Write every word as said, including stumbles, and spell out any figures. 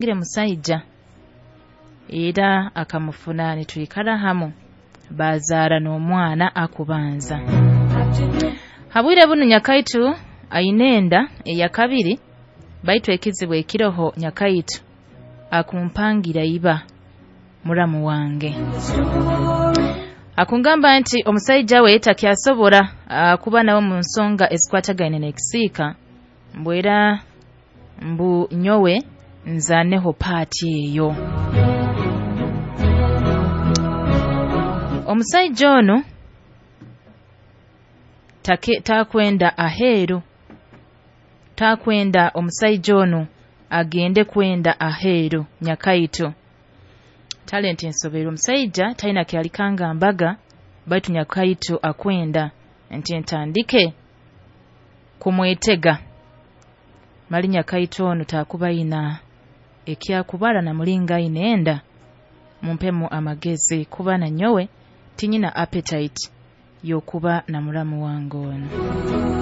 Ngire musaija era akamufuna nitwikara hamu, baazaara n'omwana akubanza. Habwire bunu nyakaitu aine enda eyakabiri, baitu ekizibu ekiroho nyakaitu akumpangira iba muramu wange. Akungamba nti omusaija we takyasobora ah, kuba nawe mu nsonga ezikwatagaine n'ekisiika, mbu era mbu nyowe nzaaneho paati eyo. Omusaija onu take, takwenda aheeru, takwenda omusaija onu agende kwenda aheeru. Nyakaitu talenti nsoberwe, omusaija talina kyalikanga mbaga, baitu nyakaitu akwenda nti ntandike kumwetega. Mali nyakaitu onu takuba aina ekyakubara na mulingo aine enda. Mumpemu amagezi kuba na nyowe tinyina appetite y'okuba na muramu wange onu.